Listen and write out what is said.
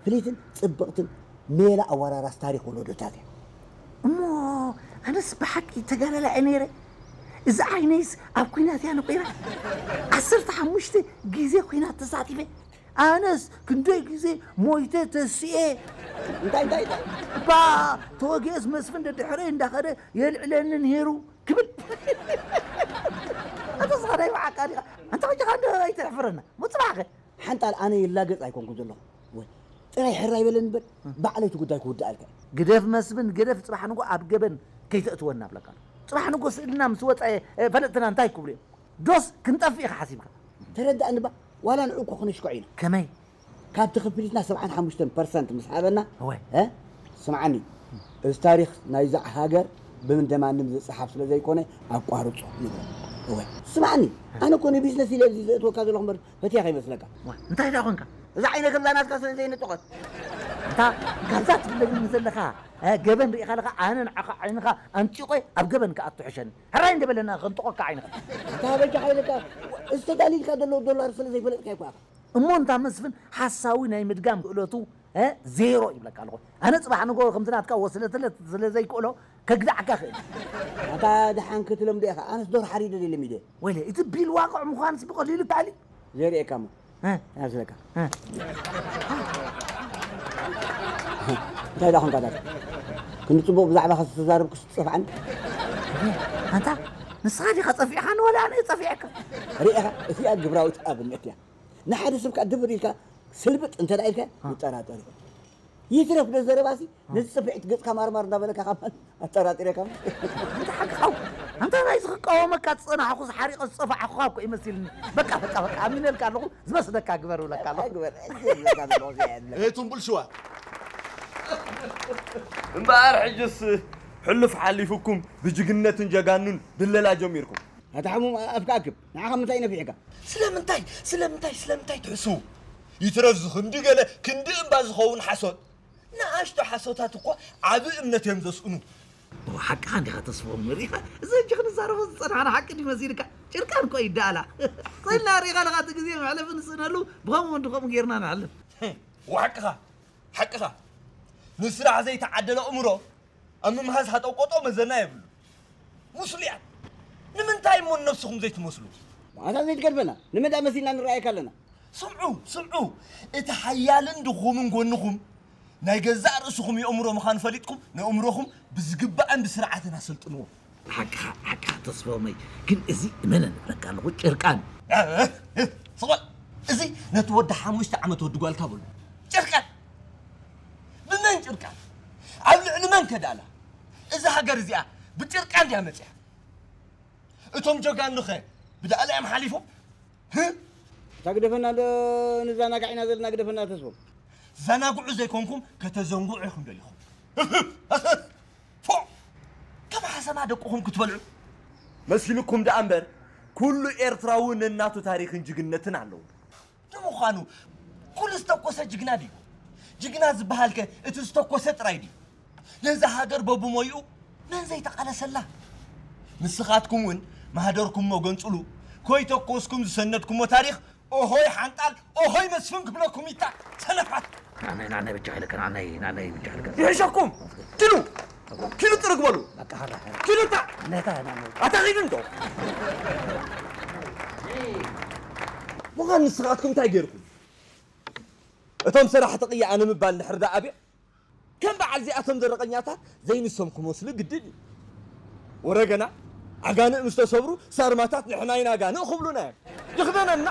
ፍልይትን ጽብቕትን ሜላ ኣወራራስ ታሪኽ ወለዶታት እያ። እሞ ኣነስ ብሓቂ ተጋዳላይ እየ ነይረ። እዚ ዓይነይስ ኣብ ኲናት እያ ነቑራ። ዓሰርተ ሓሙሽተ ግዜ ኲናት ተሳቲፈ። ኣነስ ክንደይ ግዜ ሞይተ ተሲኤ። እንታይ እንታይ እንታይ? እባ ተወጊኦስ መስፍን ደድሕረይ እንዳኸደ የልዕለኒ ነይሩ ክብል። ኣታ ስኻ ናይ ብሓቃ ዲኻ? ኣንታ ከጃኻ እንዶ ኣይተሕፍረና። ሞ ጽባሕ ከ? ሓንጣል ኣነ ይላገጽ ኣይኮንኩን ዘለኹ። ወይ ጥራይ ሕራይ በለኒ እምበር ባዕለይ እቲ ጉዳይ ክውድኣልካ እየ። ግደፍ መስፍን ግደፍ፣ ጽባሕ ንጎ ኣብ ገበን ከይተእትወና እብለካ ኣለኹ። ጽባሕ ንጎ ስእልና ምስ ወጸ፣ እ፣ ፈለጥትና እንታይ ክብሉ እዮም? ዶስ ክንጠፍእ ኢኻ ሓሲብካ? ተረዳእኒ እባ፣ ዋላ ንዑ እኮ ክነሽክዖ ኢና። ከመይ? ካብቲ ክፍሊትና ሰብዓን ሓሙሽተን ፐርሰንት ምስ ሃበና፣ እወ። እ? ስምዓኒ፣ እዚ ታሪኽ ናይዛ ሃገር ብምን ደማንም ዝጸሓፍ ስለ ዘይኮነ ኣቋርጾ ንብሎ። እወ። ስምዓኒ፣ ኣነ እኮ ንቢዝነስ ኢለ ኣብዚ ዘእትወካ ዘለኹ እምበር ፈትያ ከይመስለካ። እወ። እንታይ ደኣ ኾንካ? እዛ ዓይነ ከምዛ ናትካ ስለ ዘይነጠቖት። እንታ ካብዛ ትብለኒ ዘለኻ፣ እ፣ ገበን ርኢኻ ኣለኻ፣ ኣነ ንዓኻ ዓይንኻ ኣንጢቖ ኣብ ገበን ክኣቱ ሕሸኒ። ሕራይ እንደ በለና ከንጥቖካ ዓይንኻ። እንታ በጃኻ ኢለካ፣ እዚ ተዳሊልካ ዘሎ ዶላር ስለ ዘይፈለጥካ እኮ ኢኻ። እሞ እንታ መስፍን ሓሳዊ ናይ ምድጋም ክእለቱ፣ እ፣ ዜሮ ይብለካ ኣለኹ። ኣነ ጽባሕ ንጎ ከምቲ ናትካ ወስለትለት ስለ ዘይክእሎ ከግዳዕካ ክእል። ኣታ ደሓን ክትለምዶ ኢኻ። ኣነስ ዶር ሓሪደ ድየ ለሚደ። ወይለ፣ እቲ ቢል ዋቕዕ ምዃንስ ብቐሊሉ ተኣሊ? ዘርእየካ እሞ። እ። ያዝለካ። እ። እንታይ ደኣ ኾንካ ዳታ? ክንዲ ጽቡቕ ብዛዕባኻ ዝተዛረብኩስ ትጸፍዓኒ? ኣንታ፣ ንስኻ ዲኻ ጸፊዕኻኒ ወላ ኣነ እየ ጸፊዐካ? ርኢኻ፣ እዚኣ ግብራዊት ኣብነት እያ። ንሓደ ሰብ ከኣ ድብር ኢልካ ስልብጥ እንተ ደኣ ኢልካ እ። ይጠራጠር እዩ። ይትረፍ ዶ ዘረባሲ፣ እ። ነዚ ጽፍዒት ገጽካ ማርማር እንዳበለካ ካብ ኣጠራጢረካ። ኣንታ ሓቅኻ፣ ኣንታ ናይዚ ክቃወመካ ዝጸናሕኩስ ሓሪቐ ዝጸፋዕኩኻ እኮ ይመሲልኒ። በቃ፣ በቃ፣ በቃ፣ ኣሚነልካ ኣለኹ፣ ዝመስለካ ግበር እብለካ ኣለኹ። ግበር፣ ግበር፣ ግበር፣ ግበር፣ ግበር። እየ ትንቡል ሽዋ። እምበኣር ሕጅስ ሕሉፍ ሓሊፉኩም ብጅግነትን ጀጋኑን ድለላ ጀሚርኩም። ኣታ ሕሙም ኣፍካ ኣክብ፣ ንዓኻ ምንታይ ነፊዕካ? ስለምንታይ፣ ስለምንታይ፣ ስለምንታይ ትሕስዉ? ይትረፍ ዝኽንዲ ገለ ክንዲ እምባ ዝኸውን ሓሶት። ንኣሽቱ ሓሶታት እኮ ዓቢ እምነት እዮም ዘስእኑ። ሓቅኻ እንዲኻ ተስፎም፣ ሪኢኻ እዚ ሕጂ ክንዛረቦ ዝጸናሕና ሓቂ ድዩ መሲልካ? ጭርቃን እኮ ይደኣላ። ጸልና ሪኢኻ ኣለኻ፣ እቲ ግዜ መሕለፊ ንስእነሉ ብኸምኡ እንዲ ከምኡ ጌርና ንሕልፍ። ሓቅኻ፣ ሓቅኻ። ንስራሕ ዘይተዓደለ ኣእምሮ ኣብ ምምሃዝ ሃጠው ቆጠው መዘና የብሉ። ሙስሉያት! ንምንታይ እሞ ንነብስኹም ዘይትመስሉ? ኣታ ዘይትገድፈና፣ ንመዳ መሲልና ንረኣየካ ኣለና። ስምዑ፣ ስምዑ! እቲ ሓያልን ድኹምን ጎንኹም ናይ ገዛእ ርእስኹም የእምሮ ምዃኑ ፈሊጥኩም፣ ነእምሮኹም ብዝግባእን ብስርዓትን ኣሰልጥንዎ። ሓቅኻ፣ ሓቅኻ ተስፎመይ፣ ግን እዚ እመነን እብለካ ኣለኹ፣ ጭርቃን። እ፣ እ፣ እ፣ ስቕ በል! እዚ ነቲ ወዲ ሓሙሽተ ዓመት ወዲ ጓልካ በሎ። ጭርቃን! ብመን ጭርቃን? ኣብ ልዕሊ መን ከዳላ? እዛ ሃገር እዚኣ ብጭርቃን ድያ መጺኣ? እቶም ጀጋኑኸ ብዳእላ እዮም ሓሊፎም? ህ? እታ ግደፈና ዶ ንዛናጋዕ ኢና ዘለና፣ ግደፈና ተስፎም። ዘናግዑ ዘይኮንኩም ከተዘንግዑ ኢኹም ደሊኹም። ፎእ! ከም ሓሰማ ደቅኹም ክትበልዑ? መሲልኩም ደኣ እምበር፣ ኩሉ ኤርትራዊ ነናቱ ታሪኽን ጅግነትን ኣለዎ። ንምዃኑ፣ ኩሉ ዝተኮሰ ጅግና ድዩ? ጅግና ዝበሃልከ እቲ ዝተኮሰ ጥራይ ድዩ? ነዛ ሃገር በብሞይኡ መን ዘይተቓለሰላ? ንስኻትኩም እውን ማህደርኩም እሞ ገንጽሉ፣ ከይተኮስኩም ዝሰነድኩሞ ታሪኽ ኦሆይ ሓንጣል፣ ኦሆይ መስፍን ክብለኩም ይታ ሰነፋት። ናናይ፣ ናናይ ብቻ ኢለካ፣ ናናይ፣ ናናይ ብቻ ኢለካ። ይሕሸኩም! ኪዱ! ኪዱ ጥርግ በሉ! በቃ፣ ሀራ፣ ሀራ። ኪዱ እታ! ነታ፣ ናናይ። ኣታ ኪዱ እንዶ! ምዃን ንስኻትኩም እንታይ ጌርኩም? እቶም ሰራሕቲ ቅያ ኣነ ምባል እንድሕር ደኣ ኣብየ፣ ከም በዓል እዚኣቶም ዘረቐኛታት ዘይንሶም ክመስሉ ግድን እዩ። ወረገና፣ ኣጋንእ ምስ ተሰብሩ ሳርማታት ንሕና ኢና ኣጋንእ ክብሉና እዮም። ይኽደነና።